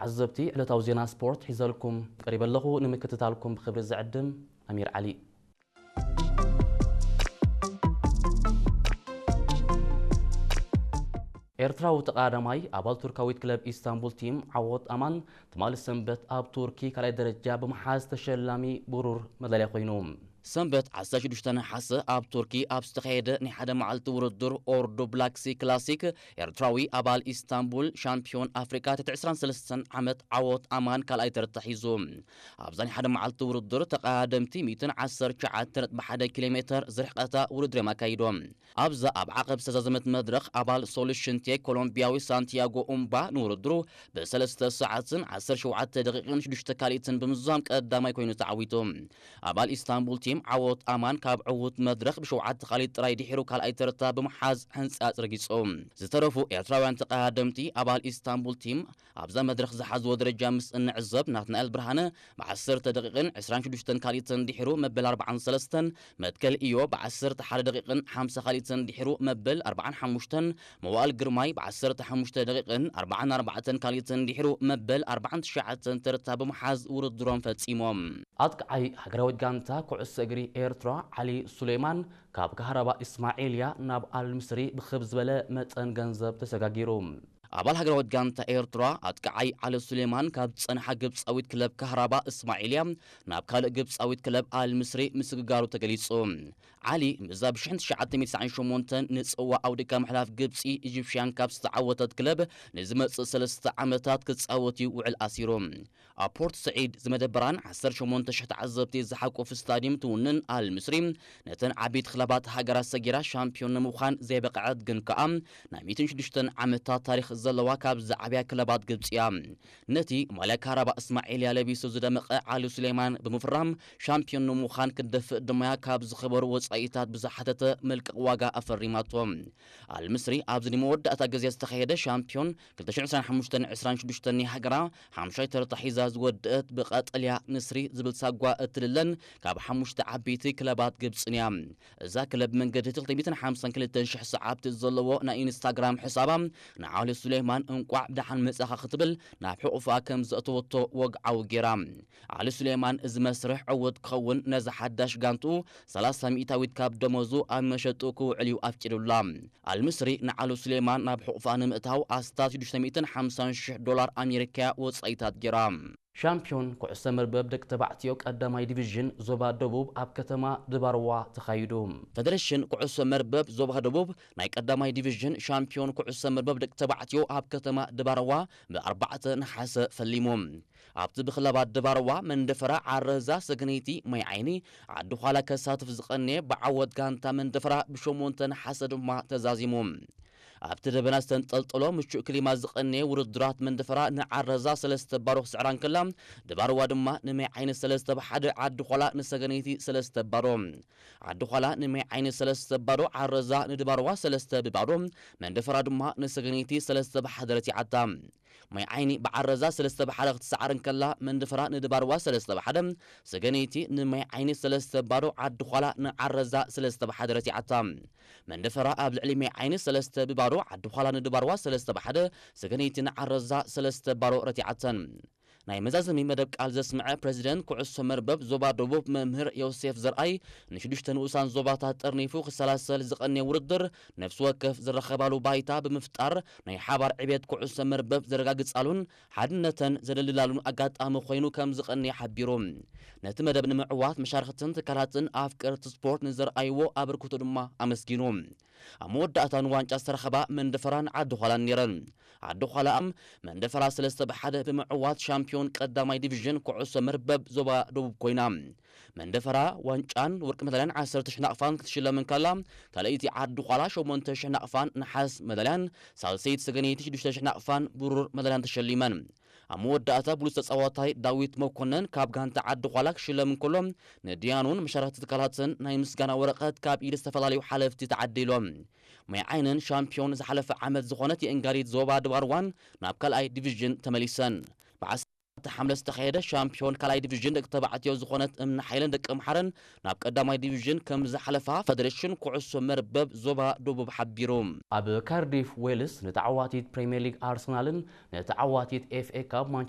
ተዓዘብቲ፣ ዕለታዊ ዜና ስፖርት ሒዘልኩም ቀሪበ ኣለኹ። ንምክትታልኩም ብኽብሪ ዝዕድም ኣሚር ዓሊ። ኤርትራዊ ተቐዳዳማይ ኣባል ቱርካዊት ክለብ ኢስታንቡል ቲም ዓወት ኣማን ትማሊ ሰንበት ኣብ ቱርኪ ካልኣይ ደረጃ ብምሓዝ ተሸላሚ ብሩር መዳልያ ኮይኑ። ሰንበት ዓሰርተ ሽዱሽተ ነሓሰ ኣብ ቱርኪ ኣብ ዝተኻየደ ናይ ሓደ መዓልቲ ውድድር ኦርዶ ብላክሲ ክላሲክ ኤርትራዊ ኣባል ኢስታንቡል ሻምፒዮን ኣፍሪካ ትሕቲ ዕስራን ሰለስተን ዓመት ዓወት ኣማን ካልኣይ ተርታ ሒዙ። ኣብዛ ናይ ሓደ መዓልቲ ውድድር ተቐዳደምቲ ሚእትን ዓሰርተ ትሽዓተ ነጥቢ ሓደ ኪሎ ሜተር ዝርሕቀታ ውድድር እዮም ኣካይዶም። ኣብዛ ኣብ ዓቐብ ዝተዛዘመት መድረኽ ኣባል ሶሉሽን ቴክ ኮሎምቢያዊ ሳንቲያጎ ኡምባ ንውድድሩ ብሰለስተ ሰዓትን ዓሰርተ ሸውዓተ ደቂቕን ሽዱሽተ ካልኢትን ብምዝዛም ቀዳማይ ኮይኑ ተዓዊቱ። ኣባል ኢስታንቡል ቲም ዓወት ኣማን ካብ ዕዉት መድረኽ ብሸውዓተ ካልኢት ጥራይ ድሒሩ ካልኣይ ተርታ ብምሓዝ ሕንጻጽ ረጊጹ። ዝተረፉ ኤርትራውያን ተቐዳደምቲ ኣባል ኢስታንቡል ቲም ኣብዛ መድረኽ ዝሓዝዎ ደረጃ ምስ እንዕዘብ፣ ናትናኤል ብርሃነ ብዓሰርተ ደቂቕን ዕስራን ሽዱሽተን ካልኢትን ድሒሩ መበል ኣርባዓን ሰለስተን፣ መትከል ኢዮ ብዓሰርተ ሓደ ደቂቕን ሓምሳ ካልኢትን ድሒሩ መበል ኣርባዓን ሓሙሽተን፣ መዋእል ግርማይ ብዓሰርተ ሓሙሽተ ደቂቕን ኣርባዓን ኣርባዕተን ካልኢትን ድሒሩ መበል ኣርባዓን ትሽዓተን ተርታ ብምሓዝ ውድድሮም ፈጺሞም። ኣጥቃዓይ ሃገራዊት ጋንታ ኩዕሶ እግሪ ኤርትራ ዓሊ ሱሌማን ካብ ካህራባ ኢስማዒልያ ናብ ኣልምስሪ ብኽብ ዝበለ መጠን ገንዘብ ተሰጋጊሩ። ኣባል ሃገራዊት ጋንታ ኤርትራ ኣጥቃዓይ ዓሊ ሱሌማን ካብ ዝጸንሓ ግብጻዊት ክለብ ካህራባ እስማዒልያ ናብ ካልእ ግብጻዊት ክለብ ኣልምስሪ ምስግጋሩ ተገሊጹ። ዓሊ ምስዛ ብሽሕን ትሽዓተ ሚእትን ትስዓን ሸሞንተን ንጽዋ ኣውዲካ ምሕላፍ ግብጺ ኢጂፕሽያን ካፕ ዝተዓወተት ክለብ ንዝመጽእ ሰለስተ ዓመታት ክጻወት እዩ ውዕል ኣሲሩ። ኣብ ፖርት ስዒድ ዝመደበራን ዓሰርተ ሸሞንተ ሽሕ ተዓዘብቲ ዝሓቆፈ ስታድየም ትውንን ኣል ምስሪ፣ ነተን ዓበይቲ ክለባት ሃገራት ሰጊራ ሻምፒዮን ንምዃን ዘይበቕዐት ግን ከኣ ናይ ሚእትን ሽዱሽተን ዓመታት ታሪኽ ዘለዋ ካብ ዝዓብያ ክለባት ግብጺ እያ። ነቲ ማልያ ካራባ እስማዒልያ ለቢሱ ዝደመቐ ዓሊ ሱሌማን ብምፍራም ሻምፒዮን ንምዃን ክትደፍእ ድማ ካብ ዝኸበሩ ወጻኢታት ብዝሓተተ መልቀቕ ዋጋ ኣፈሪማቶ። ኣል ምስሪ ኣብዚ ንመወዳእታ ግዜ ዝተኻየደ ሻምፒዮን ክልተ ሽሕን ዕስራን ሓሙሽተን ዕስራን ሽዱሽተን ናይ ሃገራ ሓሙሻይ ተርታ ሒዛ ዝወደአት ብቐጠልያ ንስሪ ዝብል ሳጓ እትልለን ካብ ሓሙሽተ ዓበይቲ ክለባት ግብጽን እያ። እዛ ክለብ መንገዲ ክልተ ሚእትን ሓምሳን ክልተን ሽሕ ሰዓብቲ ዘለዎ ናይ ኢንስታግራም ሕሳባ ንዓሊ ሱሌማን እንቋዕ ብደሓን መጻኻ ክትብል ናብ ሕቑፋ ከም ዘእተወቶ ወግዓዊ ጌራ። ዓሊ ሱሌማን እዚ መስርሕ ዕዉት ክኸውን ነዛ ሓዳሽ ጋንትኡ ሰላሳ ሚእታዊት ካብ ደሞዙ ኣብ መሸጡ ክውዕል እዩ ኣፍቂዱላ። ኣልምስሪ ንዓሉ ሱሌማን ናብ ሕቑፋ ንምእታው ኣስታት ሽዱሽተ ሚእትን ሓምሳን ሽሕ ዶላር ኣሜሪካ ወጻኢታት ጌራ። ሻምፒዮን ኩዕሶ መርበብ ደቂ ተባዕትዮ ቀዳማይ ዲቪዥን ዞባ ደቡብ ኣብ ከተማ ድባርዋ ተኻይዱ። ፌደሬሽን ኩዕሶ መርበብ ዞባ ደቡብ ናይ ቀዳማይ ዲቪዥን ሻምፒዮን ኩዕሶ መርበብ ደቂ ተባዕትዮ ኣብ ከተማ ድባርዋ ብኣርባዕተ ነሓሰ ፈሊሙ። ኣብቲ ብክለባት ድባርዋ መንደፈራ ዓረዛ ሰገነይቲ ማይ ዓይኒ ዓዲ ዃላ ከሳትፍ ዝቐነየ ብዓወት ጋንታ መንደፈራ ብሸሞንተ ነሓሰ ድማ ተዛዚሙ። ኣብቲ ደበና ዝተንጠልጠሎ ምቹእ ክሊማ ዝቐነየ ውድድራት መንደፈራ ንዓረዛ ሰለስተ ባዶ ክስዕራ እንከላ ድባርዋ ድማ ንማይ ዓይኒ ሰለስተ ብሓደ ዓዲ ዃላ ንሰገነይቲ ሰለስተ ባዶ። ዓዲ ዃላ ንማይ ዓይኒ ሰለስተ ባዶ፣ ዓረዛ ንድባርዋ ሰለስተ ብባዶ፣ መንደፈራ ድማ ንሰገነይቲ ሰለስተ ብሓደ ረቲዓታ። ማይ ዓይኒ ብዓረዛ ሰለስተ ብሓደ ክትሰዓር እንከላ መንደፈራ ንድባርዋ ሰለስተ ብሓደ፣ ሰገነይቲ ንማይ ዓይኒ ሰለስተ ባዶ፣ ዓዲ ዃላ ንዓረዛ ሰለስተ ብሓደ ረቲዓታ። መንደፈራ ኣብ ልዕሊ ማይ ዓይኒ ሰለስተ ብባዶ፣ ዓዲ ዃላ ንድባርዋ ሰለስተ ብሓደ፣ ሰገነይቲ ንዓረዛ ሰለስተ ባዶ ረቲዓተን። ናይ መዛዘሚ መደብ ቃል ዘስምዐ ፕሬዚደንት ኩዕሶ መርበብ ዞባ ደቡብ መምህር ዮሴፍ ዘርኣይ ንሽዱሽተ ንኡሳን ዞባታት ጠርኒፉ ክሰላሰል ዝቐነየ ውድድር ነፍሲ ወከፍ ዝረኸባሉ ባይታ ብምፍጣር ናይ ሓባር ዕቤት ኩዕሶ መርበብ ዘረጋግጻሉን ሓድነተን ዘደልላሉን ኣጋጣሚ ኮይኑ ከም ዝቐነየ ሓቢሩ። ነቲ መደብ ንምዕዋት መሻርክትን ትካላትን ኣፍቀርቲ ስፖርት ንዘርኣይዎ ኣበርክቶ ድማ ኣመስጊኑ። ኣብ መወዳእታ ንዋንጫ ዝተረኸባ መንደፈራን ዓዲ ዃላን ነይረን። ዓዲ ዃላ መንደፈራ ሰለስተ ብሓደ ብምዕዋት ሻምፒዮን ቀዳማይ ዲቪዥን ኩዕሶ መርበብ ዞባ ደቡብ ኮይና። መንደፈራ ዋንጫን ወርቂ መዳልያን ዓሰርተ ሽሕ ናቕፋን ክትሽለም እንከላ፣ ካልኣይቲ ዓዲ ዃላ ሸሞንተ ሽሕ ናቕፋን ነሓስ መዳልያን፣ ሳልሰይቲ ሰገነይቲ ሽዱሽተ ሽሕ ናቕፋን ብሩር መዳልያን ተሸሊመን። ኣብ መወዳእታ ብሉጽ ተጻዋታይ ዳዊት መኮነን ካብ ጋንታ ዓዲ ዃላ ክሽለም እንከሎ፣ ንድያኑን መሻርክቲ ትካላትን ናይ ምስጋና ወረቐት ካብ ኢድ ዝተፈላለዩ ሓለፍቲ ተዓዲሎም። ማይ ዓይንን ሻምፒዮን ዝሓለፈ ዓመት ዝኾነት የእንጋሊት ዞባ ድባርዋን ናብ ካልኣይ ዲቪዥን ተመሊሰን። ብዓሰርተ ሓምለ ዝተኻየደ ሻምፒዮን ካልኣይ ዲቪዥን ደቂ ተባዕትዮ ዝኾነት እምኒ ሓይለን ደቂ ኣምሓረን ናብ ቀዳማይ ዲቪዥን ከም ዝሓለፋ ፌደሬሽን ኩዕሶ መርበብ ዞባ ደቡብ ሓቢሩ። ኣብ ካርዲፍ ዌልስ ንተዓዋቲት ፕሪምየር ሊግ ኣርሰናልን ንተዓዋቲት ኤፍ ኤ ካፕ ማንቸስተር